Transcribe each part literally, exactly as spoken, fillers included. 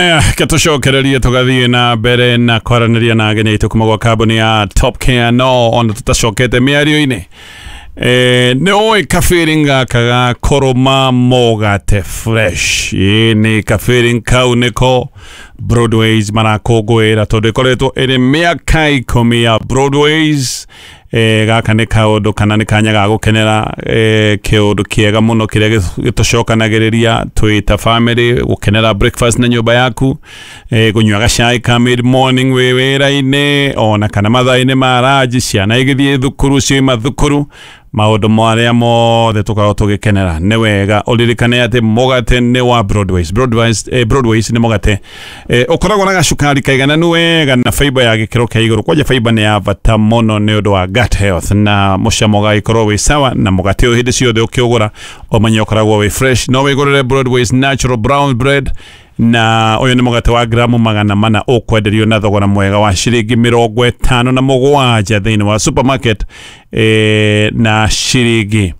Aya, gatucokererie tugathiĩ na mbere na kwaranĩria na ageni aitũ kuma gwa kambuni ya Top Care, no ona tutacokete mĩario-inĩ, eh, nĩ ũĩ ka-feeling gaka ga kũrũma mũgate fresh? Ĩ nĩ ka-feeling kau nĩko Broadways marakũngũĩra, tondũ ĩkoretwo ĩrĩ mĩaka ikũmi ya Broadways. eh, gaka nĩ kaũndũ kana nĩ kanya ga gũkenera eh, kĩũndũ kĩega mũno kĩrĩa gĩtũcokanagĩrĩria twĩ ta family, gũkenera breakfast na nyũmba yaku, eh, kũnyua gacai ka mid morning wĩ wĩra-inĩ, ona kana mathaa-inĩ ma ranji, ciana igĩthiĩ thukuru, ciauma thukuru, maũndũ marĩa mothe tũkoragwo tũgĩkenera. Nĩ wega ũririkane atĩ mũgate nĩ wa Broadways. Broadways, eh, Broadways nĩ mũgate eh, ũkoragwo na gacukari kaigananu wega na fiber ya gĩkĩro kĩa igũrũ. Kwanja fiber nĩ ya bata mũno nĩ ũndũ wa gut health, na mũcamo ũgagĩkorwo wĩ sawa. Na mũgate ũyũ hĩndĩ ciothe ũkĩũgũra ũmenye ũkoragwo wĩ fresh. No wĩgũrĩre Broadways natural brown bread, na ũyũ nĩ mũgate wa gramu magana mana ũkwenderio na thogora mwega wa ciringi mĩrongo ĩtano na mũgwanja thĩinĩ wa supermarket, eh, na ciringi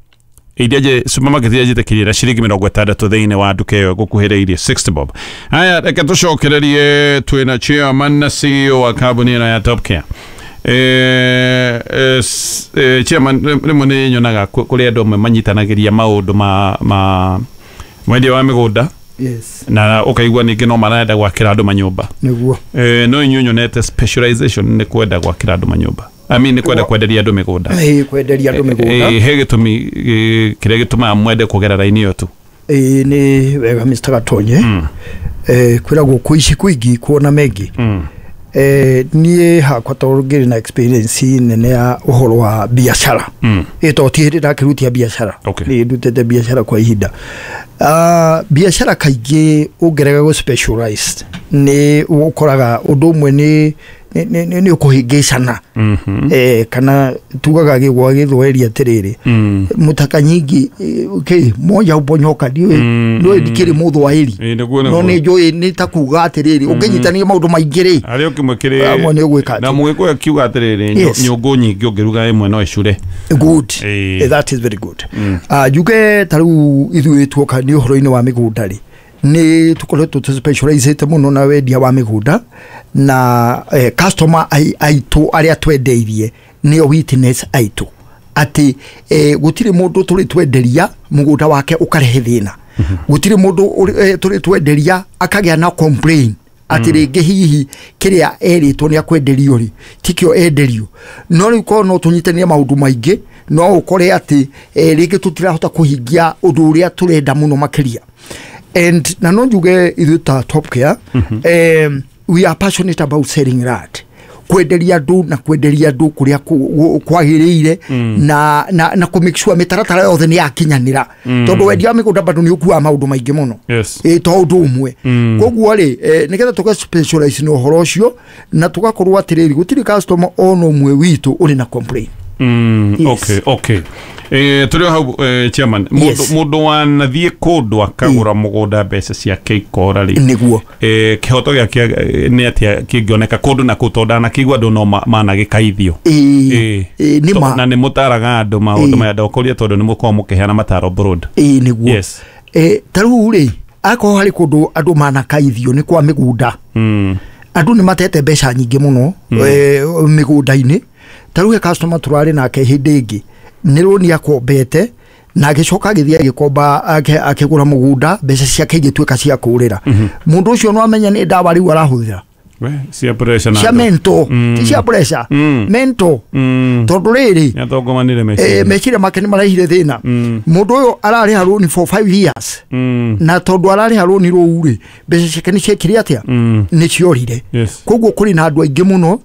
iria nje supermarket iria njĩtĩkĩrie, na ciringi mĩrongo ĩtandatũ thĩinĩ wa nduka ĩyo ĩgũkuhĩrĩirie, sixty bob. Haya, reke tũcokererie. Twĩna chairman na C E O wa kambuni ĩno ya Top Care. Eh, eh, s- eh, chairman, rĩmwe nĩ nyonaga kũ- kũrĩ andũ amwe manyitanagĩria maũndũ ma ma mwendia wa mĩgũnda yes na ũkaigua ningĩ no marenda gwakĩra andũ manyũmba. Nĩguo. Eh, no inyuĩ nyonete specialization nĩ kwenda gwakĩra andũ manyũmba, I mean, nĩ kwenda kwenderia andũ mĩgũnda. Ĩĩ, kwenderia andũ mĩgũnda. Eh, he gĩtũmi eh, kĩrĩa gĩtũmaga mwende kũgera raini ĩyo tu? Ĩĩ, nĩ wega, Mister Gatonye. Eh, kwĩragwo kũici kũingĩ kuona mengi. Mm. Eh, niĩ hakwa tondũ ngĩrĩ na experience nene ya ũhoro wa biacara, Mm. ĩ to ti hĩndĩ ndakĩrutia biacara. Okay. Nĩ ndutĩte biacara kwa ihinda. uh, biacara kaingĩ ũngĩrega gũ specialize nĩ ũkoraga ũndũ ũmwe nĩ nĩ- nĩ nĩ- nĩ ũkũhĩngĩcana. Mhm. eh, kana tugaga gĩgwa gĩthweri atĩrĩrĩ, Mm. mũtaka nyingi, eh, okay, moja uponyoka. Ndiũĩ, Mm, ndiũĩ, mm. ndikĩrĩ mũthwaĩri. Ĩ, nĩguo. No nĩguo. nĩ njũĩ nĩ ta kuga atĩrĩrĩ, ũngĩnyitania maũndũ maingĩ rĩ, harĩ o kĩmwe kĩrĩ amwe nĩ ũgwĩka na atĩ. Mũgĩkũyũ akiuga atĩrĩrĩ, nyũ- Yes. nyũngũ nyingĩ ũngĩruga ĩmwe no ĩcure. Good. Ĩĩ. Eh, that is very good. uh, njuge ta rĩu ithuĩ tuoka nĩ ũhoro-inĩ wa mĩgũnda rĩ, nĩ tũkoretwo tũ mũno na wendia wa mĩgũnda, na eh, customer ai- aitũ arĩa twendeirie nĩo witness aitũ atĩ eh, gũtirĩ mũndũ tũrĩ twenderia mũgũnda wake ũkarehe thĩna, gũtirĩ mũndũ ũrĩ- eh, tũrĩ twenderia akagĩa na complain atĩ rĩngĩ hihi kĩrĩa erĩtwo nĩ akwenderio rĩ tikĩo enderio. No rĩu korwo no tũnyitanie maũndũ maingĩ, no ũkore atĩ eh, rĩngĩ tũtirahota kũhingia ũndũ ũrĩa tũrenda mũno makĩria. And na no njuge ithuĩ ta Top Care, um, we are passionate about selling land, kwenderia andũ na kwenderia andũ kũrĩa kũ- gũ- kwagĩrĩire, na, na, na kũ make sure mĩtaratara yothe nĩ yakinyanĩra, tondũ wendia wa mĩgũnda bado nĩ ũkuaga maũndũ maingĩ mũno. Yes. Ĩ to ũndũ ũmwe. Koguo rĩ, eh, nĩgetha tũga specialize na ũhoro ũcio na tũgakorwo atĩrĩrĩ, gũtirĩ customer ona ũmwe witũ ũrĩ na complain. Mm, Yes. okay okay eh tũrĩ o hau, eh, chairman, mũndũ Yes. mũndũ wanathiĩ kũndũ akagũra mũgũnda, mbeca ciake ikora rĩ, Nĩguo. eh, kĩhoto gĩake eh, nĩ atĩa kĩngĩoneka kũndũ na kũu, tondũ ndanakĩigua andũ no ma- managĩkaithio? Ĩ, Ĩ. ĩ, nĩ To- ma. Na nĩ mũtaraga andũ maũndũ Ĩ. maya, ndokũria tondũ nĩ mũkoragwo mũkĩheana mataro broad. Ĩ, nĩguo. Yes. Eh, ta rĩu rĩ, akorwo harĩ kũndũ andũ manakaithio nĩ kwa mĩgũnda. mm. Andũ nĩ matete mbeca nyingĩ mũno mm. eh, mĩgũnda-inĩ. Ta rĩu he customer tũrarĩ nake hĩndĩ ĩngĩ, nĩ rũni akombete na agĩcoka agĩthiĩ agĩkomba ake- akĩgũra mũgũnda, mbeca ciake igĩtuĩka cia kũrĩra. Mũndũ ũcio no amenya nĩ ndawa rĩu arahũthĩra. We, cia pressure na Cia andũ. mental. Mm. Ti cia pressure, Mm. mental. Mm. Tondũ rĩrĩ, nĩatongomanire eh, meciria. Meciria make nĩ marehire thĩna. Mm. Mũndũ ũyũ ararĩha rũni for five years, Mm. na tondũ ararĩha rũni rũu rĩ, mbeca ciake nĩ ciekire atĩa? Mm. Nĩ ciorire. Yes. Koguo kũrĩ na andũ aingĩ mũno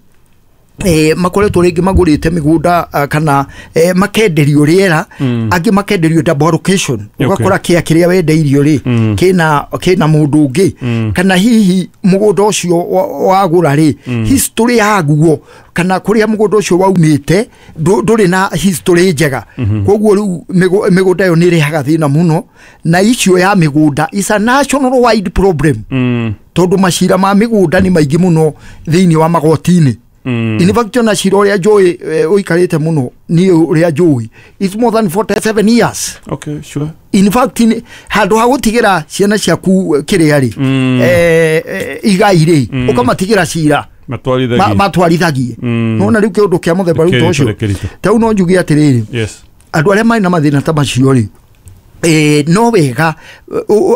eh, makoretwo rĩngĩ magũrĩte mĩgũnda, ah, kana eh, makenderio rĩera, Mm. angĩ makenderio double allocation. Okay. Ũgakora kĩa kĩrĩa wendeirio rĩ, Mm. kĩna kĩna mũndũ ũngĩ, Mm. kana hihi mũgũnda ũcio wa- wagũra rĩ, history yaguo kana kũrĩa mũgũnda ũcio waumĩte ndũ- ndũrĩ na history njega. Koguo rĩu mĩgũ- mĩgũnda ĩyo nĩ ĩrehaga thĩna mũno, na icio ya mĩgũnda is a national wide problem, Mm. tondũ macira ma mĩgũnda nĩ maingĩ mũno thĩinĩ wa magoti-inĩ. Mm. In fact ona cira ũrĩa njũĩ ũikarĩte mũno niĩ ũrĩa njũĩ it's more than forty-seven years. Okay, sure. In fact handũ ha gũtigĩra ciana ciaku kĩrĩa rĩ Mm. eh, eh, igai rĩ Mm. ũkamatigĩra cira Matwarithagie. matwarithagie. Mm. Nona rĩu kĩũndũ kĩa mũthemba rĩu ta ũcio Kĩritũ, kĩritũ. ta rĩu no njuge atĩrĩrĩ, Yes. andũ arĩa marĩ na mathĩna ta macio rĩ, eh, no wega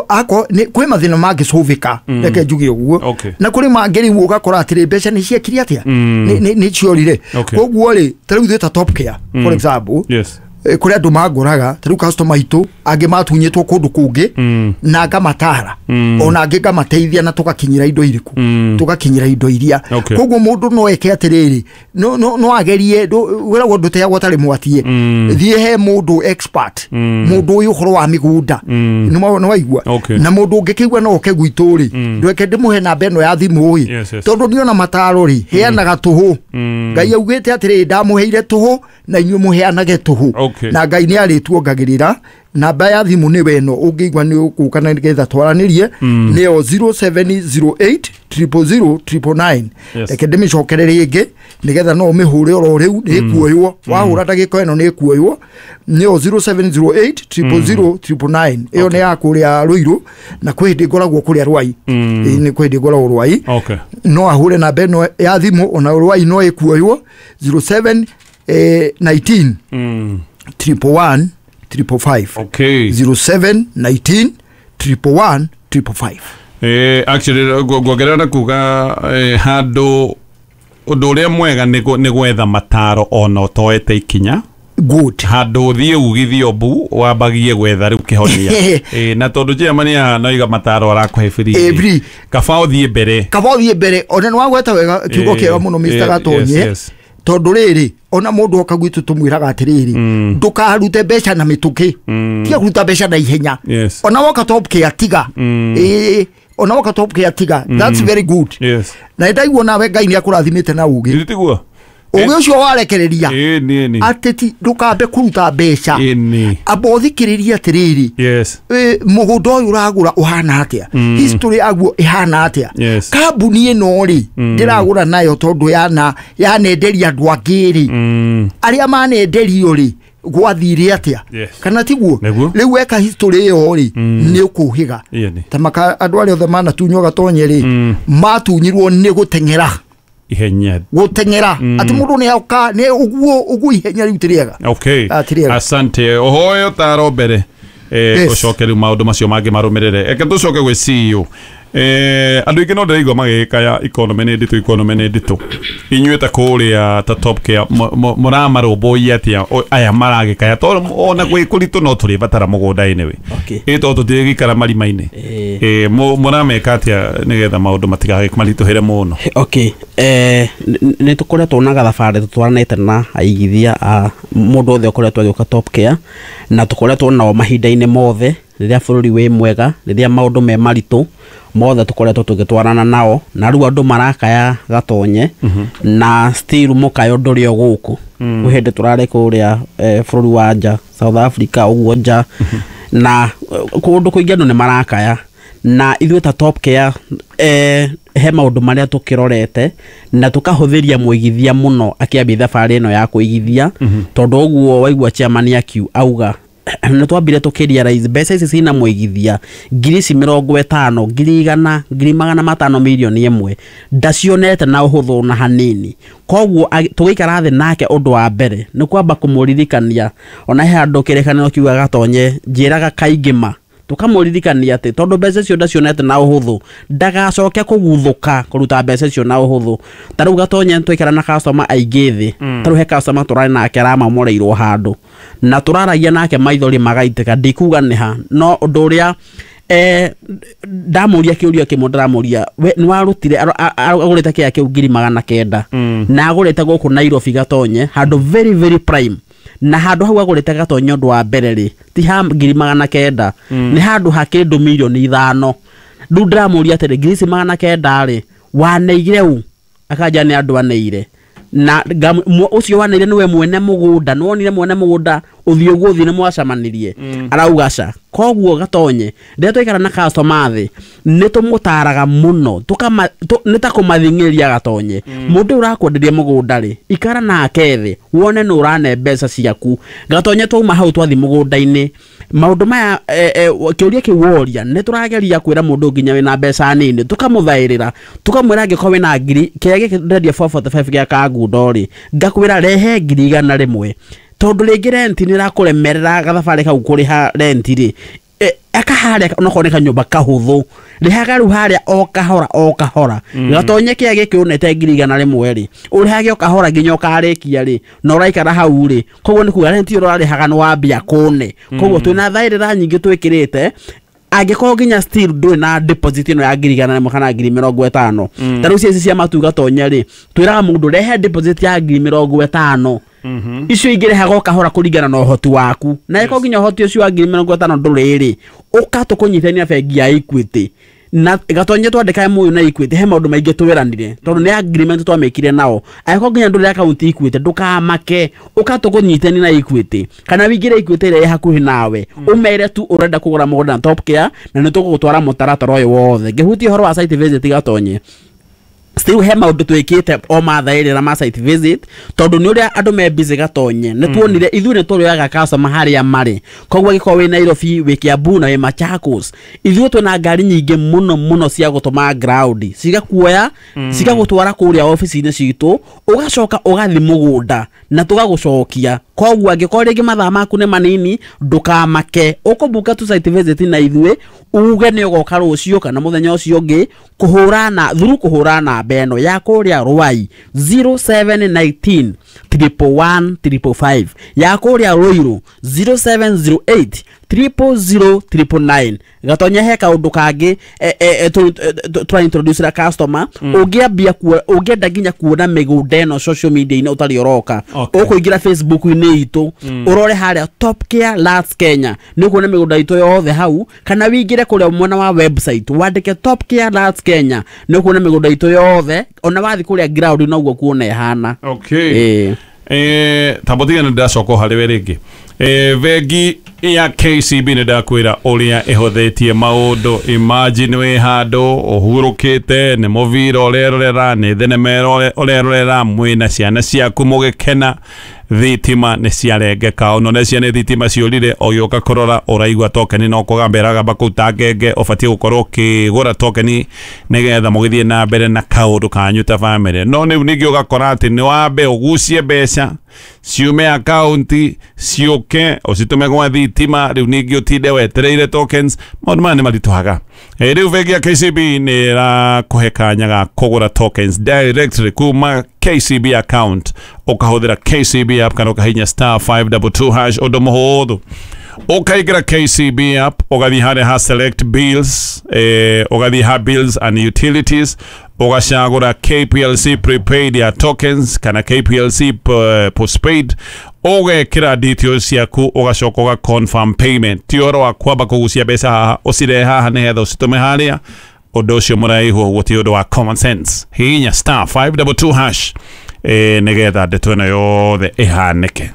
ako kwĩ mathĩna mangĩcũvĩka, Mm. reke njuge ũguo. Okay. Na kũrĩ mangĩ rĩu ũgakora atĩrĩ mbeca nĩ ciekire atĩa, Mm. nĩ nĩ ciorire. Okay. Koguo rĩ ta rĩu ithuĩ ta Top Care Mm. for example, Yes. eh, kũrĩ andũ mangoraga ta rĩu customer aitũ angĩ matunyĩtwo kũndũ kũngĩ Mm. na ngamatara Mm. ona angĩ ngamateithia na tũgakinyĩra indo irĩkũ, Mm. tũgakinyĩra indo iria. Okay. Koguo mũndũ no eke atĩrĩrĩ, no no no agerie, wĩragwo ndũteagwo atarĩ mwatie. Mm. Thiĩ he mũndũ expert, Mm. mũndũ ũyũ ũhoro wa mĩgũnda. Mm. Nĩ waigua? Okay. Na mũndũ ũngĩkĩigua no oke gwitũ rĩ, Mm. ndweke ndĩmũhe namba ĩno ya thimũ ĩ, Yes, yes. tondũ niona mataro rĩ heanaga tũhũ. Mm. Ngai augĩte atĩrĩrĩ, ndamũheire tũhũ na inyuĩ mũheanage tũhũ. Okay. Na Ngai nĩ arĩtuongagĩrĩra. Namba ya thimũ nĩ weno ũngĩigua nĩ ũgũka na nĩgetha twaranĩrie, Mm. nĩyo zero seven zero eight triple zero triple nine. Yes. Reke ndĩmĩcokere rĩngĩ nĩgetha no ũmĩhũre oro rĩu, nĩ ĩkuoywo. Wahũra ndagĩka ĩno nĩ ĩkuoywo. Nĩyo zero seven zero eight triple zero triple nine. Ĩyo nĩ ya kũrĩa Ruiru, na kwĩ hĩndĩ ngoragwo kũrĩa Rwai. Mm. Ĩĩ, nĩ kwĩ hĩndĩ ngoragwo Rwai. Okay. No ahũre namba ĩno ya thimũ ona Rwai no ĩkuoywo, zero seven nineteen Mm. triple one triple five. Okay. zero seven nineteen triple one triple five. Eh, actually nguongerera na kuga eh, handũ ũndũ ũrĩa mwega nĩ gwetha mataro ona ũtoete ikinya. Good. Handũ ũthiĩ ugithio mbu wambagie gwetha rĩu kĩhonia. Eh, na tondũ chairman haha no iga mataro arakũhe free. Eh, free. Kaba ũthiĩ mbere. Kaba ũthiĩ mbere. Ona nĩ wagweta wega kiugo Eh, kĩega mũno Mister eh, Gatonye. yes, yes. Tondũ rĩrĩ ona mũndũ oka gwitũ tũmwĩraga atĩrĩrĩ, Mm. ndũkarute mbeca na mĩtũkĩ, Mm. tiga kũruta mbeca na ihenya. Yes. Ona woka Top Care tiga. Mm. Ĩĩ, ona woka Top Care tiga. That's very good. Yes. Na ndaigua nawe Ngai nĩ akũrathimĩte na ũgĩ. Githĩ tiguo? Ũgĩ ũcio warekereria Ĩĩ, nĩ nĩ. atĩ ti ndũkambe kũruta mbeca. Ĩĩ, nĩ. Amba ũthikĩrĩrie atĩrĩrĩ, Yes. ĩ, mũgũnda ũyũ ũragũra ũhana atĩa, Mm. history yaguo ĩhana atĩa. Yes. Kambuni ĩno rĩ Mm. ndĩragũra nayo tondũ yana yanenderia andũ angĩ rĩ, Mm. arĩa manenderio rĩ gwathire atĩa, Yes. kana tiguo? Nĩguo. Rĩu weka history ĩyo rĩ, Mm. nĩ ũkũhĩga. Ĩĩ, nĩ. Ta maka andũ arĩa othe manatunywo Gatonye rĩ, Mm. matunyirwo nĩ gũteng'era. Ihenya. Gũteng'era. Mm. Atĩ mũndũ nĩ oka nĩ ũguo ũguo ihenya rĩu ti rĩega. Okay. Ah, ti rĩega. Asante. Ũhoe ũtaro mbere. Eh, Yes. ũcoke rĩu maũndũ macio mangĩ marũmĩrĩre. Eke tũcoke gwĩ C E O. Eh, andũ aingĩ no ndĩraigua magĩkaya economy nĩ nditũ, economy nĩ nditũ. Inyuĩ ta kũrĩa ta Top Care mũramarũmbũiya atĩa aya maragĩkaya tondũ ona gwĩ kũritũ no tũrĩbatara mũgũnda anyway. Okay. Ĩ tondũ tũtirĩgĩikara marima-inĩ. Eh. Eh, mũrameka atĩa nĩgetha maũndũ matigakĩmaritũhĩre mũno? Okay. Eh, nĩ tũkoretwo na gathabarĩ tũtwaranĩte na aigithia a mũndũ othe ũkoretwo agĩũka Top Care, na tũkoretwo nao mahinda-inĩ mothe rĩrĩa bũrũri wĩ mwega, rĩrĩa maũndũ me maritũ mothe tũkoretwo tũgĩtwarana nao, na rĩu andũ marakaya Gatonye, na still mũkayo ndũrĩ o gũkũ. Kwĩ hĩndĩ tũrarĩ kũrĩa eh, bũrũri wa nja, South Africa ũguo nja, na kũndũ kũingĩ andũ nĩ marakaya, na ithuĩ ta Top Care eh, he maũndũ marĩa tũkĩrorete na tũkahũthĩria mũigithia mũno akĩambia thabarĩ ĩno ya kũigithia, tondũ ũguo waigua chairman akiu auga nĩ twambire tũkĩrealize mbeca ici cina mũigithia ngiri ici mĩrongo ĩtano, ngiri igana, ngiri magana matano, mirioni ĩmwe ndacionete na ũhũthũ na hanini. Koguo tũgĩikara thĩ nake ũndũ wa mbere nĩ kwamba kũmũririkania, ona he handũ kĩrĩkanĩro kiugaga Gatonye njĩraga kaingĩ ma tũkamũririkania atĩ tondũ mbeca icio ndacionete na ũhũthũ ndagacoke kũguthũka kũruta mbeca icio na ũhũthũ. Ta rĩu Gatonye twaikara na customer aingĩ thĩ, ta rĩu he customer tũrarĩ nake aramamoreirwo handũ na tũraragia nake maithori magaitĩka, ndikuga nĩ ha, no ũndũ ũrĩa eh ndamũria kĩũria kĩmwe ndĩramũria, we nĩ warutire agũrĩte kĩa kĩu ngiri magana kenda na agũrĩte gũkũ Nairobi Gatonye handũ very very prime, na handũ hau agũrĩte Gatonye ũndũ wa mbere rĩ ti ha ngiri magana kenda, nĩ handũ ha kĩndũ mirioni ithano. Rĩu ndĩramũria atĩrĩ, ngiri ici magana kenda rĩ waneire ũ? Akanja nĩ andũ aneire. Na ucio wanire niwe mwene mugunda, nĩwonire mwene mugunda uthio guo nĩ mwacemanirie arauga ca. Koguo Gatonye rĩrĩa twaikara na customer thĩ nĩ tũmũtaraga mũno, nĩ ta kũmathing'ĩrĩria Gatonye. Mũndũ ũrakwenderia mũgũnda rĩ, ikara nake thĩ wone nĩ ũrane mbeca ciaku. Gatonye twauma hau twathi mũgũnda-inĩ, maũndũ maya kĩũria kĩu woria nĩ tũrageria kwĩra mũndũ nginya wĩna mbeca nini, tũkamũthaĩrĩra tũkamwĩra angĩkorwo wĩna ngiri kĩrĩa gĩkĩ ndĩrendia four forty-five gĩa Kangundo rĩ, ngakwĩra rehe ngiri igana rĩmwe, tondũ rĩngĩ renti nĩ ĩrakũremerera gathabarĩ kau kũrĩha renti rĩ, aka harĩa onokorwo nĩ kanyũmba kahũthũ rĩhaga rĩu harĩa o kahora o kahora. Gatonye kĩrĩa gĩkĩ ũnete ngiri igana rĩmwe rĩ, ũrĩhage o kahora nginya ũkarĩkia rĩ, na ũraikara hau rĩ, koguo nĩ kuga renti ĩyo ũrarĩhaga nĩ wambia kũne. Koguo twĩna thaĩrĩra nyingĩ twĩkĩrĩte, angĩkorwo nginya still ndũrĩ na deposit ĩno ya ngiri igana rĩmwe kana ngiri mĩrongo ĩtano, ta rĩu ici cia matu Gatonye rĩ, twĩraga mũndũ rehe deposit ya ngiri mĩrongo ĩtano, icio ingĩ o kahora kũringana na ũhoti waku, na ĩkorwo nginya ũhoti ũcio wa ngiri mĩrongo ĩtano ndũrĩ rĩ, ũka tũkũnyitania bengi ya Equity. Na Gatonye twandĩkae mũyũ na Equity, he maũndũ maingĩ twĩranire tondũ nĩ agreement twamĩkire nao. Angĩkorwo nginya ndũrĩ akaunti Equity, ndũkamake, ũka tũkũnyitania na Equity kana wĩingĩre Equity ĩrĩa ĩ hakuhĩ nawe, ũmere tu ũrenda kũgũra mũgũnda na Top Care, na nĩ tũgũgũtwara mũtaratara ũyũ wothe. Ngĩhutia ũhoro wa site visit Gatonye, still he maũndũ twĩkĩte o mathaĩrĩra ma site visit, tondũ nĩ ũrĩa andũ me busy Gatonye, nĩ tuonire ithuĩ nĩ tũrĩoyaga customer harĩa marĩ. Koguo angĩkorwo wĩ Nairobi, wĩ Kiambu na wĩ Machakos, ithuĩ twĩna ngari nyingĩ mũno mũno cia gũtũma ground, cigakuoya cigagũtwara kũrĩa ofici-inĩ citũ, ũgacoka ũgathiĩ mũgũnda na tũgagũcokia. Koguo angĩkorwo rĩngĩ mathaa maku nĩ manini, ndũkamake, ũkũbuka tu site visit na ithuĩ, uge nĩ ũgoka rũciũ kana mũthenya ũcio ũngĩ, kũhũra na through kũhũra namba ĩno ya kũrĩa Ruai zero seven nineteen triple one triple five, ya kũrĩa Ruiru zero seven zero eight triple zero triple nine. Gatonye he kaũndũ kangĩ tũra introduce ra customer, ũngĩambia ũngĩenda nginya kuona mĩgũnda ĩno social media-inĩ ũtarĩ ũroka, ũkũingĩra Facebook-inĩ itũ ũrore harĩa Top Care Lands Kenya, nĩ ũkuona mĩgũnda itũ yothe hau, kana wĩingĩre kũrĩa mwena wa website wandĩke Top Care Lands Kenya, nĩ ũkuona mĩgũnda itũ yothe, ona wathiĩ kũrĩa ground noguo kuona ĩhana. Okay. Eh, tambotiga nĩ ndacoka harĩ we rĩngĩ. Eh, bengi ya K C B nĩ ndakwĩra ũrĩa ĩhũthĩtie maũndũ. Imagine wĩ handũ ũhurũkĩte, nĩ mũbira ũrerorera, nĩ thenema ũrerorera, mwĩna ciana ciaku mũgĩkena, thitima nĩ ciarengeka, ona nĩ ciana thitima ciũrire, ũgĩũka kũrora ũraigua tokeni no kũgamba ĩragamba kũu ta ngenge, ũbatiĩ gũkorwo ũkĩgũra tokeni nĩgetha mũgĩthiĩ na mbere na kaũndũ kanyu ta bamĩrĩ. No rĩu ningĩ ũgakora atĩ nĩ wambe ũgucie mbeca ciume akaunti ciũke ũcitũme gwa thitima, rĩu ningĩ ũtinde wetereire tokens. Maũndũ maya nĩ maritũhaga. Rĩu bengi ya K C B nĩ ĩrakũhe kanya ga kũgũra tokens directly kuma K C B account, ũkahũthĩra K C B app kana ũkahihinya star five double two hash, ũndũ mũhũthũ. Ũkaingĩra K C B app, ũgathiĩ harĩa ha select bills, eh, ũgathiĩ ha bills and utilities, ũgacagũra K P L C prepaid ya tokens kana K P L C postpaid, ũgekĩra details ciaku, ũgacoka ũga confirm payment. Ti ũhoro wa kwamba kũgucia mbeca haha ũcirehe haha nĩgetha ũcitũme harĩa, ũndũ ũcio mũraihu ũguo ti ũndũ wa common sense. Hihinya star five double two hash eh, nĩgetha ndeto ĩno yothe ĩhanĩke.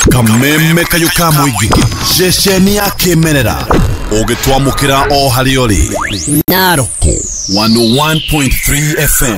Kameme kayo ka mũingĩ, ceceni ya kĩmerera, ũgĩtwamũkĩra o harĩa ũrĩ. Narok one oh one point three F M.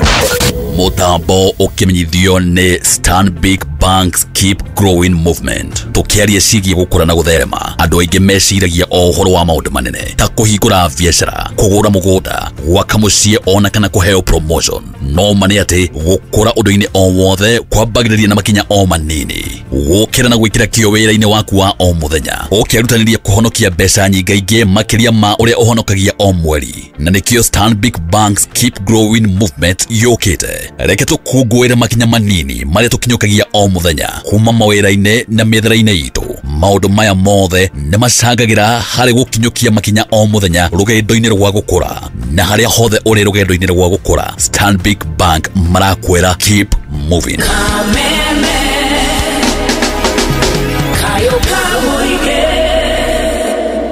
Mũtambo ũkĩmenyithio nĩ Stanbic Bank's Keep Growing Movement. Tũkĩaria ciĩgiĩ gũkũra na gũtherema, andũ aingĩ meciragia o ũhoro wa maũndũ manene ta kũhingũra biacara, kũgũra mũgũnda, gwaka mũciĩ ona kana kũheo promotion. No ma nĩ atĩ gũkũra ũndũ-inĩ o wothe kwambagĩrĩria na makinya o manini, gũkĩra na gwĩkĩra kĩo wĩra-inĩ waku wa o mũthenya, ũkĩrutanĩria kũhonokia mbeca nyingaingĩ makĩria ma ũrĩa ũhonokagia o mweri. Na nĩkĩo Stanbic Bank's Keep Growing Movement yũkĩte. Reke tũkũngũĩre makinya manini marĩa tũkinyũkagia o mũthenya kuma mawĩra-inĩ na mĩethere-inĩ itũ. Maũndũ maya mothe nĩ macangagĩra harĩ gũkinyũkia makinya o mũthenya rũgendo-inĩ rwa gũkũra. Na harĩa hothe ũrĩ rũgendo-inĩ rwa gũkũra, Stanbic Bank marakwĩra keep moving.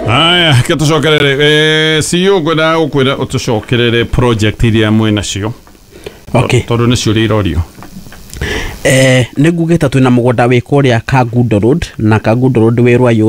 Aya, ke tũcokerere eh, C E O ngwenda gũkwĩra ũtũcokerere project iria mwĩ nacio. Okay. Tondũ nĩcio iria irorio. Eh, nĩ ngugĩte twĩna mũgũnda wĩ kũrĩa Kangundo Road, na Kangundo Road wĩ Rwai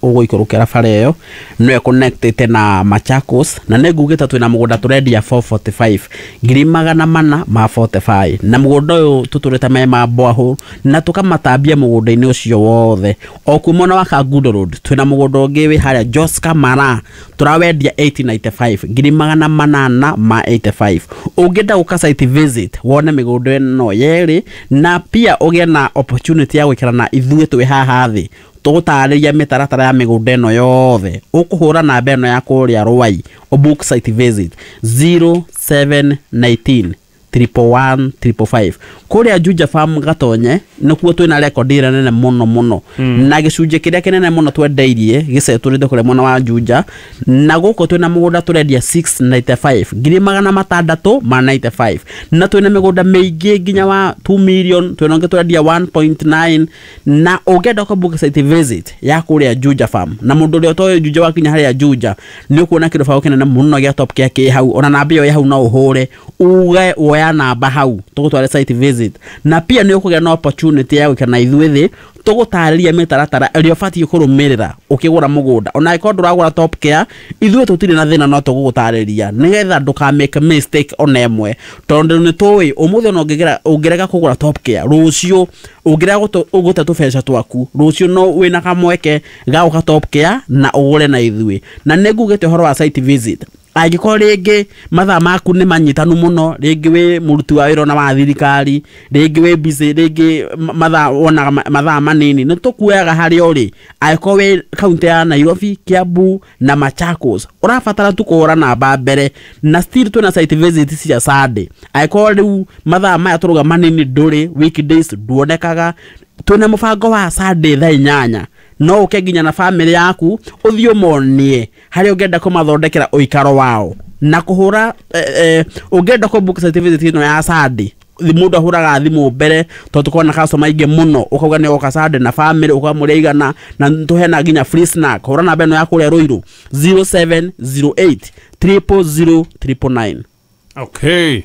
ũgũikũrũkĩra bara ĩyo nĩyo connectĩte na Machakos. Na nĩ ngugĩte twĩna mũgũnda tũrendia four forty-five, ngiri magana mana ma mĩrongo ĩna na ithano, na mũgũnda ũyũ tũtũrĩte me ma borehole na tũkamatambia mũgũnda-inĩ ũcio wothe. O kuo mwena wa Kangundo Road twĩna mũgũnda ũngĩ wĩ harĩa Joska Mara, tũrawendia eight ninety-five, ngiri magana manana ma mĩrongo ĩnana na ithano. Ũngĩenda gũka site visit wone mĩgũnda ĩno yerĩ na pia ũgĩe na opportunity ya gwĩkĩra na ithuĩ twĩ haha thĩ tũgũtarĩria mĩtaratara ya mĩgũnda ĩno yothe, ũkũhũra namba ĩno ya kũrĩa Rwai ũbook site visit zero seven one nine triple one triple five. Kũrĩa Juja Farm Gatonye nĩkuo twĩna rekondi ĩrĩa nene mũno mũno mm. na gĩcunjĩ kĩrĩa kĩnene mũno twendeirie gĩcetũrĩte kũrĩa mwena wa Juja. Na gũkũ twĩna mũgũnda tũrendia six ninety-five, ngiri magana matandatũ ma mĩrongo ĩnana na ithano, na twĩna mĩgũnda mĩingĩ nginya wa two million, twĩna ũngĩ tũrendia one point nine. Na ũngĩenda kũ site visit ya kũrĩa Juja Farm, na mũndũ ũrĩa ũtoĩ Juja wakinya harĩa Juja nĩ ũkuona kĩrũbaũ kĩnene mũno gĩa Top Care kĩ hau. Ona namba ĩyo ĩ hau no ũhũre uge woya namba hau tũgũtware site visit, na pia nĩ ũkũgĩa na opportunity ya gwĩkĩra na ithuĩ thĩ tũgũtarĩria mĩtaratara ĩrĩa ũbatiĩ kũrũmĩrĩra ũkĩgũra mũgũnda. Ona angĩkorwo ndũragũra Top Care, ithuĩ tũtirĩ na thĩna, no tũgũgũtarĩria nĩgetha ndũka make mistake ona ĩmwe, tondũ nĩ tũĩ ũmũthĩ ona ũngĩgera ũngĩrega kũgũra Top Care rũciũ, ũngĩrega gũte tũbeca twaku rũciũ, no wĩna kamweke ga gũka Top Care na ũgũre na ithuĩ. Na nĩ ngugĩte ũhoro wa site visit, angĩkorwo rĩngĩ mathaa maku nĩ manyitanu mũno, rĩngĩ wĩ mũruti wa wĩra ona wa thirikari, rĩngĩ wĩ busy, rĩngĩ mathaa wonaga mathaa manini, nĩ tũkuoyaga harĩa ũrĩ. Angĩkorwo wĩ kaunti ya Nairobi, Kiambu na Machakos, ũrabatara tu kũhũra namba mbere. Na still twĩna site visit cia Sunday. Angĩkorwo rĩu mathaa maya tũrauga manini ndũrĩ, weekdays nduonekaga, twĩna mũbango wa Sunday thaa inyanya, no ũke nginya na family yaku ũthiĩ ũmonie harĩa ũngĩenda kũmathondekera ũikaro wao na kũhũra eh, eh, ũngĩenda kũ book site visit ĩno ya Sunday, mũndũ ahũraga thimũ mbere tondũ tũkoragwo na customer aingĩ mũno. Ũkauga nĩ ũgoka Sunday na family, ũkauga mũrĩ aigana, na tũheana nginya free snack. Hũra namba ĩno ya kũrĩa Ruiru, zero seven zero eight triple zero triple nine. Okay,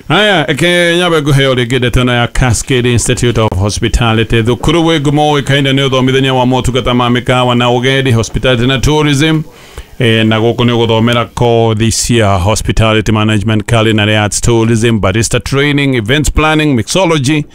haya, eke nyabe nguheo rĩngĩ ndeto ĩno ya Cascade Institute of Hospitality, thukuru wĩ ngumo ũĩkaine nĩ ũthomithania wa motungata ma mĩkawa na ũgendi, hospitality na tourism. E, na gũkũ nĩ ũgũthomera kothi cia hospitality management, culinary arts, tourism, barista training, events planning, mixology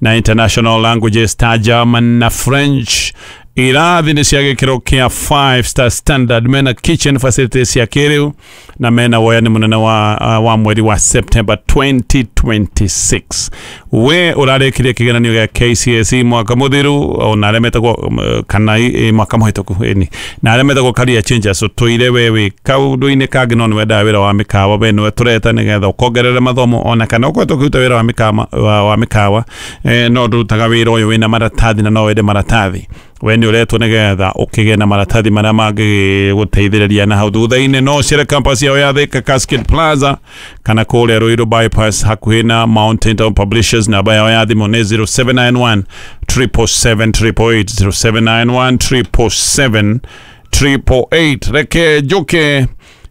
na international languages ta German na French. Irathi nĩ cia gĩkĩro kĩa five star standard, mena kitchen facilities cia kĩrĩu na mena woyani mũnene wa, uh, wa mweri wa September twenty twenty-six. We ũrarĩkirie kĩgeranio gĩa K C S E mwaka mũthiru, ona arĩa metagwo um, kana eh, mwaka mũhĩtũku ĩni, na arĩa metagwo career changers, ũtũire we wĩ kaũndũ-inĩ kangĩ no nĩ wendaga wĩra wa mĩkawa, we nĩwe tũreta nĩgetha ũkongerere mathomo, ona kana ũkoretwo ũkĩruta wĩra wa mĩkawa, wa, wa mĩkawa eh, no ndũrutaga wĩra ũyũ wĩna maratathi na no wende maratathi, we nĩ ũretwo nĩgetha ũkĩgĩe na maratathi marĩa mangĩgũteithĩrĩria na hau thutha-inĩ. No ũcere campus yao ya Thika Cascade Plaza kana kũrĩa Ruiru Bypass hakuhĩ na Mountain Town Publishers. Namba yao ya thimũ nĩ zero seven nine one triple seven eight eight eight, zero seven nine one triple seven eight eight eight. Reke njuke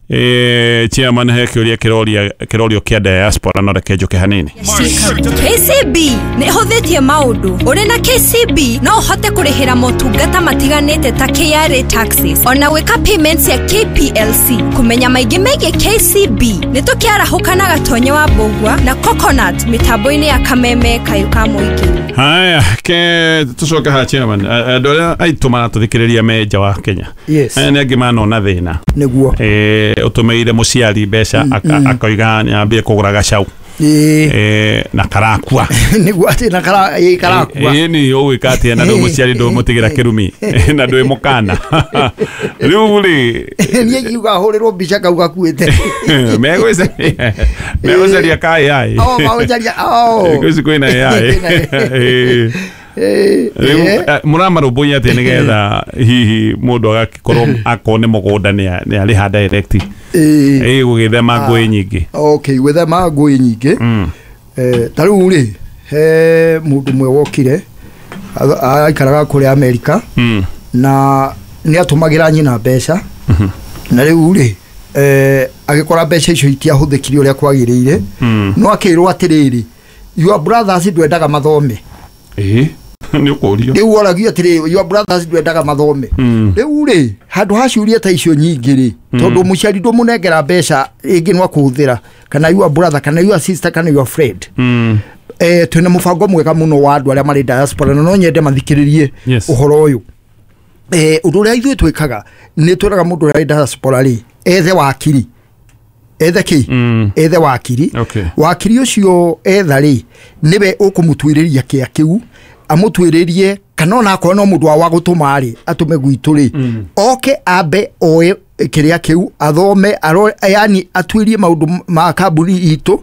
eh, chairman he kĩũria kĩroria kĩrorio kĩa diaspora, no reke njuke hanini. K C B nĩ ĩhũthĩtie maũndũ. Ũrĩ na K C B no ũhote kũrĩhĩra motungata matiganĩte ta K R A taxes ona gwĩka payments ya K P L C. Kũmenya maingĩ megiĩ K C B nĩ tũkĩarahũka na Gatonye wa Mbũgua na Coconut mĩtambo-inĩ ya Kameme Kayũ ka Mũingĩ. Haya, ke tucoke ha chairman. Andũ arĩa aitũ maratũthikĩrĩria me nja wa Kenya, Yes. aya nĩ angĩ manona thĩna. Nĩguo. Eh, ũtũmĩire mũciari mbeca aka- akoiga nyambie kũgũra gacau Ĩĩ. eh, na karakua. Nĩguo, atĩ na kara ĩ, karakua. Ĩ ni ũgwĩka atĩa na ndũ mũciari ndũmũtigĩra kĩrumi na ndwĩ mũkana rĩu rĩ? Niĩ ngiuga hũrĩrwo mbica kau gakuĩte. Megũcaria megũcaria ka A I. Oh, magũcaria, oh. Gwĩci kwĩna A I. Ĩ. Ĩ, Rĩu ĩ. eh, mũramarũmbũiya atĩa nĩgetha hihi mũndũ agakĩkorwo akorwo nĩ mũgũnda nĩ nĩ arĩha direct Ĩ. ĩ gũgĩthema ngũĩ nyingĩ? Okay, gwĩthema ngũĩ nyingĩ, Mm. eh, ta rĩu rĩ, he mũndũ ũmwe wokire a- aikaraga kũrĩa Amerika Mm. na nĩ atũmagĩra nyina mbeca, na rĩu rĩ eh, agĩkora mbeca icio itiahũthĩkire ũrĩa kwagĩrĩire, Mm. no akĩrwo atĩrĩrĩ, your brothers ndwendaga mathome. Ĩĩ, nĩ ũkũrio. Rĩu woragia atĩrĩ, your brothers ndwendaga mathome. Rĩu rĩ, handũ ha ciũria ta icio nyingĩ rĩ, tondũ mũciari ndũmũnengera mbeca ĩngĩ no akũhũthĩra, kana your brother, kana your sister, kana your friend. Mm. Eh, twĩna mũbango mwega mũno wa andũ arĩa marĩ diaspora, na no nyende mathikĩrĩrie Yes. ũhoro ũyũ. Eh, ũndũ ũrĩa ithuĩ twĩkaga nĩ twĩraga mũndũ ũrĩa wĩ diaspora rĩ, ethe wakiri, ethe kĩ? Mm. Ethe wakiri. Okay. Wakiri ũcio etha rĩ, nĩwe ũkũmũtuĩrĩria kĩa kĩu, amũtuĩrĩrie, kana ona akorwo no mũndũ wa wa gũtũma rĩ, atũme gwitũ rĩ, oke ambe oe kĩrĩa kĩu, athome, aro, yani atuĩrie maũndũ ma kambuni itũ,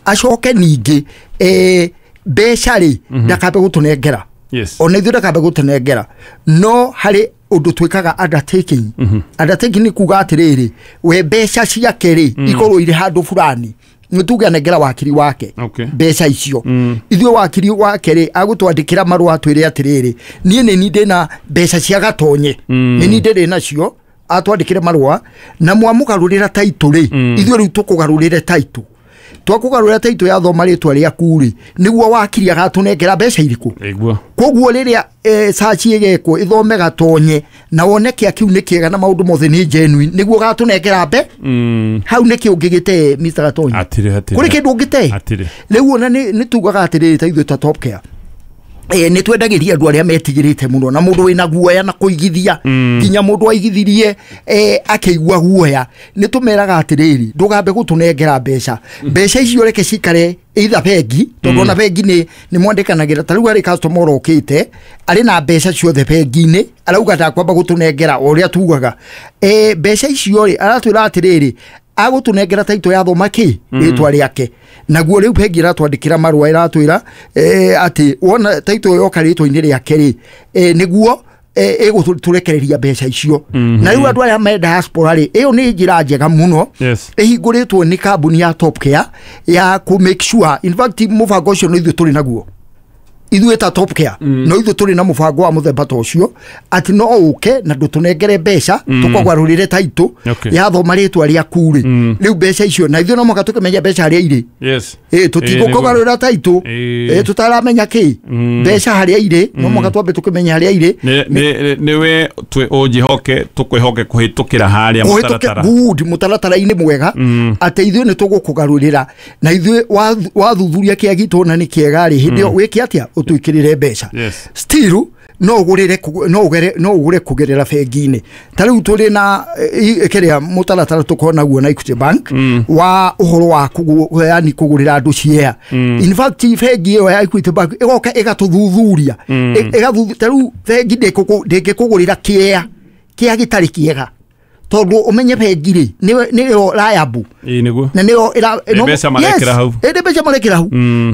acoke ningĩ eh, mbeca rĩ, ndakambe gũtũnengera. Yes. Ona ithuĩ ndakambe gũtũnengera, no harĩ ũndũ twĩkaga undertaking. Undertaking nĩ kuga atĩrĩrĩ, we mbeca ciake rĩ, ikorwo irĩ handũ fulani, nĩ tuge anengera wakiri wake Okay. mbeca icio. Ithuĩ wakiri wake rĩ, agũtwandĩkĩra marũa atwĩre atĩrĩrĩ, niĩ nĩ ni ndĩna mbeca cia Gatonye, nĩ ni ndĩrĩ nacio, atwandĩkĩre marũa, na mwamũgarũrĩra taitũ rĩ, ithuĩ rĩu tũkũgarũrĩre taitũ. Twakũgarũrĩra taitũ yathoma rĩtwa rĩaku rĩ, nĩguo wakiri agatũnengera mbeca irĩkũ. Ĩguo. Koguo rĩrĩa eh, search ĩgekwo ĩthome Gatonye na wone kĩa kĩu nĩ kĩega na maũndũ mothe nĩ genuine, nĩguo gatũnengera mbe. Mm. Hau nĩkĩ ũngĩgĩte, Mister Gatonye? Hatirĩ, hatirĩ. Kũrĩ kĩndũ ũngĩte? Hatirĩ. Rĩu ona nĩ nĩ tugaga atĩrĩrĩ, ta ithuĩ ta Top Care, eh, nĩ twendagĩria andũ arĩa metigĩrĩte mũno na mũndũ wĩna guoya na kũigithia, nginya mũndũ aigithirie eh, akĩigua guoya, nĩ tũmeraga atĩrĩrĩ, ndũgambe gũtũnengera mbeca, mbeca icio reke cikare either bengi, tondũ ona bengi nĩ nĩ mwandĩkanagĩra. Ta rĩu harĩ customer ũrokĩte arĩ na mbeca ciothe bengi-inĩ, arauga ndakwamba gũtũnengera, o ũrĩa tugaga eh, mbeca icio rĩ, aratwĩra atĩrĩrĩ, agũtũnengera taitũ yathoma kĩ rĩtwa rĩake. Naguo rĩu bengi ĩratwandĩkĩra marũa, ĩratwĩra eh, atĩ wona taitũ yoka rĩtwa-inĩ rĩake rĩ, eh, nĩguo eh, ĩgũtũrekereria mbeca icio. Na rĩu andũ arĩa me diaspora rĩ, ĩyo nĩ njĩra njega mũno Yes. ĩhingũrĩtwo nĩ kambuni ya Top Care ya kũ make sure, in fact mũbango ũcio no ithuĩ tũrĩ naguo, ithuĩ ta Top Care, no ithuĩ tũrĩ na mũbango wa mũthemba ta ũcio, atĩ no ũke na ndũtũnengere mbeca, tũkũgarũrĩre taitũ Okay. yathoma rĩtwa rĩaku rĩ, rĩu mbeca icio na ithuĩ no mũhaka tũkĩmenye mbeca harĩa irĩ. Yes. Ĩ, tũtigũkũgarũrĩra taitũ Ĩ. ĩ tũtaramenya kĩ mbeca harĩa irĩ, no mũhaka twambe tũkĩmenye harĩa irĩ. Nĩ nĩ nĩwe twĩ ũnjĩhoke, tũkwĩhoke kũhĩtũkĩra harĩa Ũhĩtũke mũtaratara. Good, mũtaratara-inĩ mwega, atĩ ithuĩ nĩ tũgũkũgarũrĩra, na ithuĩ wathuthuria kĩa gitũ na nĩ kĩega rĩ, hĩndĩ ĩyo wĩke atĩa? Ũtwĩkĩrĩre mbeca. Yes. Still no ũgũrĩre kũgũ- no ũgere no ũgũre kũgerera bengi-inĩ. Ta rĩu tũrĩ na eh, kĩrĩa mũtaratara tũkorwo naguo na Equity Bank wa ũhoro wa kũgũ- yani kũgũrĩra andũ share. In fact bengi ĩyo ya Equity Bank ĩgoka ĩgatũthuthuria. Ĩ- ĩgathuthu ta rĩu bengi ndĩkũkũ- ndĩngĩkũgũrĩra kĩea kĩa gĩtarĩ kĩega, tondũ ũmenye bengi rĩ, nĩyo nĩyo liable Ĩ, nĩguo. Na nĩyo ĩra Nĩ mbeca marekĩra hau. Ĩ, nĩ mbeca marekĩra hau.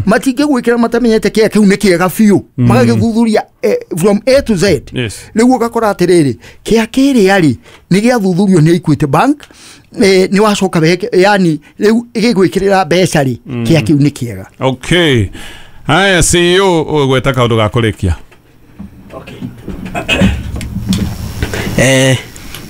Matingĩgwĩkĩra matamenyete kĩa kĩu nĩ kĩega biũ, magagĩthuthuria eh, from A to Z. Yes. Rĩu ũgakora atĩrĩrĩ, kĩa kĩrĩa rĩ, nĩ gĩathuthurio nĩ Equity Bank, eh, nĩ wacoka weke- yani rĩu ĩgĩgwĩkĩrĩra mbeca rĩ, kĩa kĩu nĩ kĩega. Okay. Haya, C E O, ũgweta kaũndũ ga kũrĩkia. Eh,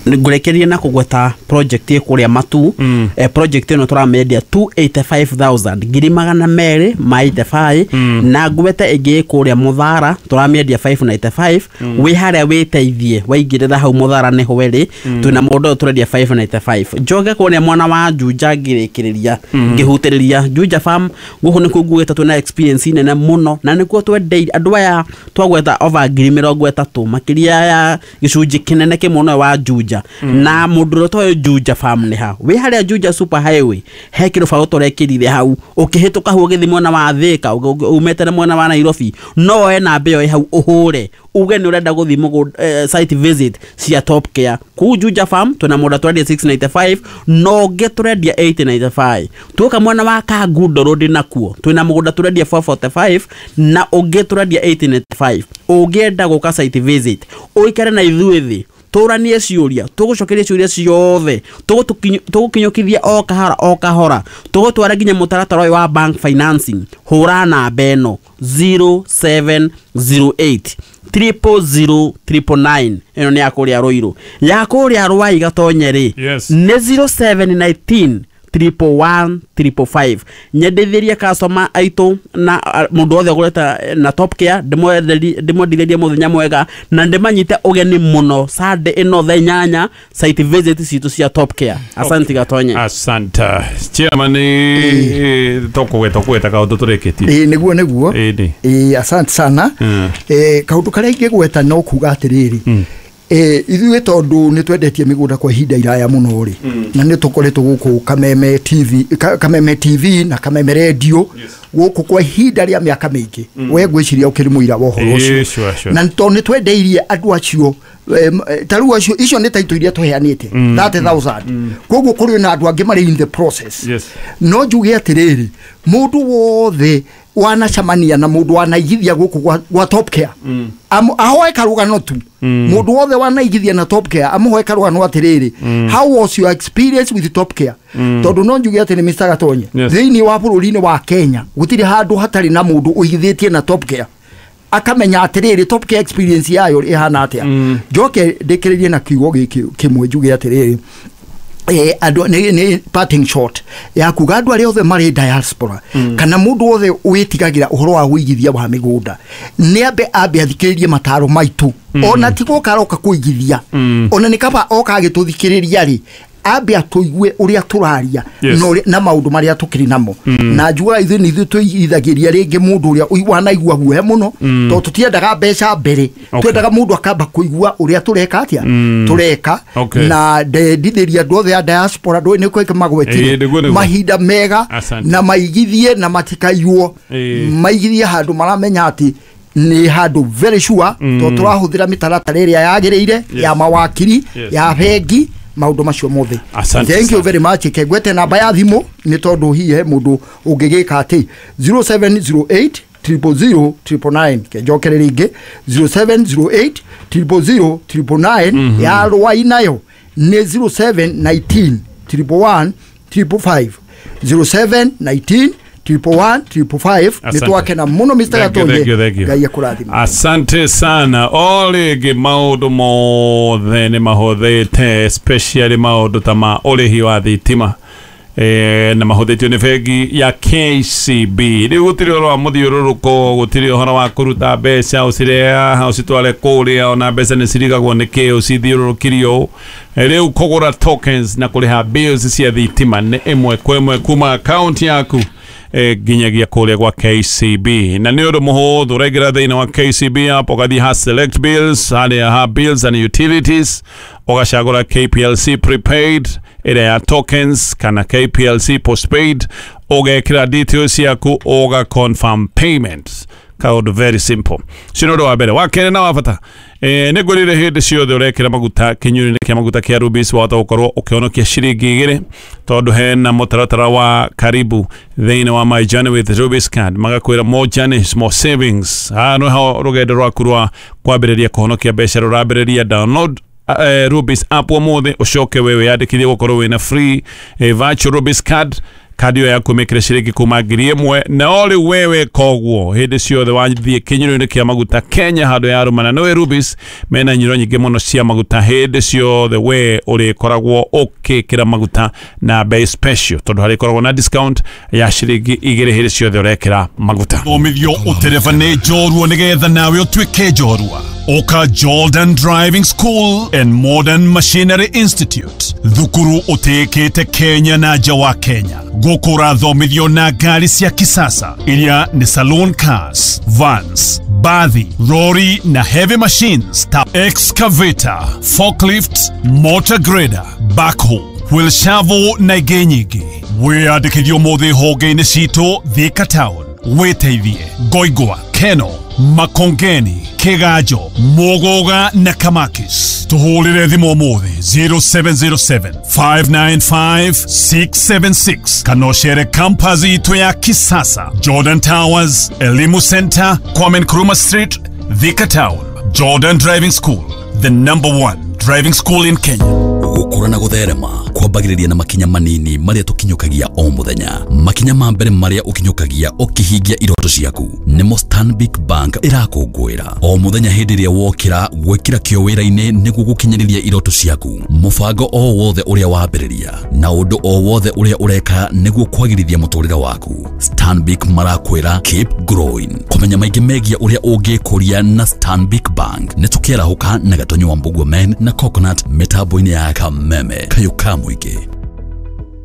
ngũrĩkĩrie na kũgweta project ĩ kũrĩa Matu. mm. eh, project ĩno tũramĩendia two hundred eighty-five thousand, ngiri magana merĩ ma eighty-five. mm. Na ngwete ĩngĩ ĩ kũrĩa Mũthara, tũramĩendia five ninety-five. mm. Wĩ harĩa wĩteithie, waingĩrĩra hau Mũthara nĩho ĩrĩ. mm. Twĩna mũndũ ũyũ tũrendia five ninety-five. Njoke kũrĩa mwena wa Juja, ngĩrĩkĩrĩria ngĩhutĩrĩria Juja Farm, gũkũ nĩkuo nguĩte twĩna experience nene mũno, na nĩkuo twendeire andũ aya twagweta over ngiri mĩrongo ĩtatũ, makĩria ya gĩcunjĩ kĩnene kĩmwe ũyũ wa Juja. Na mũndũ ũrĩa ũtoĩ Juja Farm nĩ ha? Wĩ harĩa Juja Super Highway, he kĩrũbaũ tũrekĩrire hau, ũkĩhĩtũka hau ũgĩthiĩ mwena wa Thĩka, umĩte na mwena wa Nairobi, no woe namba ĩyo ĩ hau, ũhũre uge nĩ ũrenda gũthiĩ mũgũnda, eh, site visit cia Top Care kũu Juja Farm. Twĩna mũndũ twendia six ninety-five, no ũngĩ tũrendia eight ninety-five. Tuoka mwena wa Kangundo Road, nakuo twĩna mũgũnda tũrendia four forty-five na ũngĩ tũrendia eight ninety-five. Ũngĩenda gũka site visit, ũikare na ithuĩ thĩ, tũranie ciũria, tũgũcokeria ciũria ciothe, tũgũkinyũkithia o kahora o kahora, tũgũtwara nginya mũtaratara ũyũ wa bank financing. Hũra namba ĩno zero seven zero eight triple zero triple nine. Ĩno nĩ ya kũrĩa Rũirũ. Ya kũrĩa Rwai Gatonye rĩ, Yes. nĩ zero seven nineteen triple one triple five. Nyendithirie customer aitũ na mũndũ wothe ũgũrĩte na Top Care, ndĩmwendithĩrie mũthenya mwega na ndĩmanyite ũgeni mũno Sunday ĩno thaa inyanya site visit citũ cia Top Care. Asante Gatonye. Asante chairman. Tokũgweta kũgweta kaũndũ tũrĩkĩtie. Ĩĩ nĩguo nĩguo. Ĩĩ asante sana. Eh kaũndũ karĩa ingĩgweta no kuga atĩrĩrĩ, eh ithuĩ tondũ nĩ twendetie mĩgũnda kwa ihinda iraya mũno rĩ, na nĩ tũkoretwo gũkũ Kameme T V, Kameme T V na Kameme Radio gũkũ kwa ihinda rĩa mĩaka mĩingĩ, we ngwĩciria ũkĩrĩ mũira wa ũhoro ũcio, na tondũ nĩ twendeirie andũ acio ta rĩu acio icio nĩ taitũ iria tũheanĩte thirty thousand, koguo kũrĩ na andũ angĩ marĩ in the process. No njuge atĩrĩrĩ, mũndũ wothe wanacemania na mũndũ wanaigithia gũkũ gwa Top Care ahoe karũgano tu, mũndũ wothe wanaigithia na Top Care amũhoe karũgano atĩrĩrĩ, how was your experience with Top Care? Tondũ no njuge atĩrĩ Mister Gatonye, thĩinĩ wa bũrũri-inĩ wa Kenya gũtirĩ handũ hatarĩ na mũndũ ũigithĩtie na Top Care akamenya atĩrĩrĩ Top Care experience yayo ĩhana atĩa. Njoke ndĩkĩrĩrie na kiugo gĩkĩ kĩmwe njuge atĩrĩrĩ, eh andũ nĩ nĩ parting shot ya kuga andũ arĩa othe marĩ diaspora kana mũndũ wothe wĩtigagĩra ũhoro wa wĩigithia wa mĩgũnda nĩ ambe ambe athikĩrĩrie mataro maitũ, ona ti gũka aroka kũigithia, ona nĩ kaba oka agĩtũthikĩrĩria rĩ, ambe atũigue ũrĩa tũraria na maũndũ marĩa tũkĩrĩ namo. Na njugaga ithuĩ nĩ ithuĩ tũigithagĩria rĩngĩ mũndũ ũrĩa wanaigua guoya mũno, tondũ tũtiendaga mbeca mbere, twendaga mũndũ akamba kũigua ũrĩa tũreka atĩa tũreka. Na ndendithĩria andũ othe a diaspora ndũĩ nĩ kwĩka magwetire mahinda mega na maigithie na matikaiywo, maigithie handũ maramenya atĩ nĩ handũ very sure, tondũ tũrahũthĩra mĩtaratara ĩrĩa yagĩrĩire ya mawakiri ya bengi maũndũ macio mothe. Thank you very much. Kegwete namba ya thimũ nĩ tondũ hihi he mũndũ ũngĩgĩka atĩ zero seven zero eight triple zero triple nine, kenjokere rĩngĩ zero seven zero eight triple zero triple nine, ya Rwai nayo nĩ zero seven nineteen triple one triple five, zero seven nineteen triple one triple five. Nĩ twakena mũno Mister Gatonye, Ngai akũrathime. Asante sana. O rĩngĩ maũndũ mothe nĩ mahũthĩte, especially maũndũ ta ma ũrĩhi wa thitima eh na mahũthĩtio nĩ bengi ya K C B. Rĩu gũtirĩ ũhoro wa mũthiũrũrũko, gũtirĩ ũhoro wa kũruta mbeca ũcirehe haha ũcitware kũrĩa, ona mbeca nĩ cirigagwo nĩ kĩ ũcithiũrũrũkirio. Rĩu kũgũra tokens na kũrĩha bills cia thitima nĩ ĩmwe kwa ĩmwe kuma account yaku nginyagia kũrĩa gwa K C B. Na nĩ ũndũ mũhũthũ, ũraingĩra thĩinĩ wa K C B app, ũgathiĩ ha select bills, harĩa ha bills and utilities, ũgacagũra K P L C prepaid ĩrĩa ya tokens kana K P L C postpaid, ũgekĩra details ciaku, ũga confirm payments. Kaũndũ very simple. Ũcio nĩ ũndũ wa mbere. Wa kerĩ na wa bata, eh nĩ ngwĩrire hĩndĩ ciothe ũrekĩra maguta kĩnyuĩro-inĩ kĩa maguta kĩa Rubis, wahota gũkorwo ũkĩhonokia ciringi igĩrĩ, tondũ hena mũtaratara wa karibu thĩinĩ wa My Journey with Rubis card, magakwĩra more journeys more savings. Haha nĩho rũgendo rwaku rwa kwambĩrĩria kũhonokia mbeca rũrambĩrĩria. Download uh, Rubis app ũmũthĩ, ũcoke we wĩyandĩkithie gũkorwo wĩna free eh, virtual Rubis card. Kadi ĩyo yaku mĩkĩre ciringi kuma ngiri ĩmwe, na o rĩu wewe koguo hĩndĩ ciothe wathiĩ kĩnyuĩro-inĩ kĩa maguta Kenya handũ ya rũmana nĩwe Rubis, mena nyiro nyingĩ mũno cia maguta. Hĩndĩ ciothe we ũrĩkoragwo ũkĩkĩra maguta na bei special, tondũ harĩkoragwo na discount ya ciringi igĩrĩ hĩndĩ ciothe ũrekĩra maguta. Thomithio ũtereba nĩ njorua nĩgetha nawe ũtuĩke njorua. Oka Jordan Driving School and Modern Machinery Institute, thukuru ũtĩĩkĩte Kenya na nja wa Kenya. Gũkũ ũrathomithio na ngari cia kisasa iria nĩ saloon cars, vans, bathi, lorry na heavy machines ta excavator, forklift, motor grader, backhoe, wheel shovel na ingĩ nyingĩ. Wĩyandĩkithie ũmũthĩ honge-inĩ citũ Thika Town, wĩteithie Ngoingwa, Keno, Makongeni, Kigajo, Muguga na Kamakis. Tuhũrĩre thimũ ũmũthĩ zero seven zero seven five nine five six seven six kana ũcere campus itũ ya kisasa, Jordan Towers, Elimu Center, Kwame Nkrumah Street, Thika Town. Jordan Driving School, the number one driving school in Kenya. Gũkũra na gũtherema kwambagĩrĩria na makinya manini marĩa tũkinyũkagia o mũthenya. Makinya ma mbere marĩa ũkinyũkagia ũkĩhingia iroto ciaku nĩmo Stanbic Bank ĩrakũngũĩra o mũthenya. Hĩndĩ ĩrĩa wokĩra gwĩkĩra kĩo wĩra-inĩ nĩguo gũkinyanĩria iroto ciaku, mũbango o wothe ũrĩa wambĩrĩria na ũndũ o wothe ũrĩa ũreka nĩguo kwagĩrithia mũtũrĩre waku, Stanbic marakwĩra keep growing. Kũmenya maingĩ megiĩ ũrĩa ũngĩkũria na Stanbic Bank, nĩ tũkĩarahũka na Gatonyo wa Mbugua Men na Coconut mĩtambo-inĩ ya Kameme kayũ ka mũingĩ.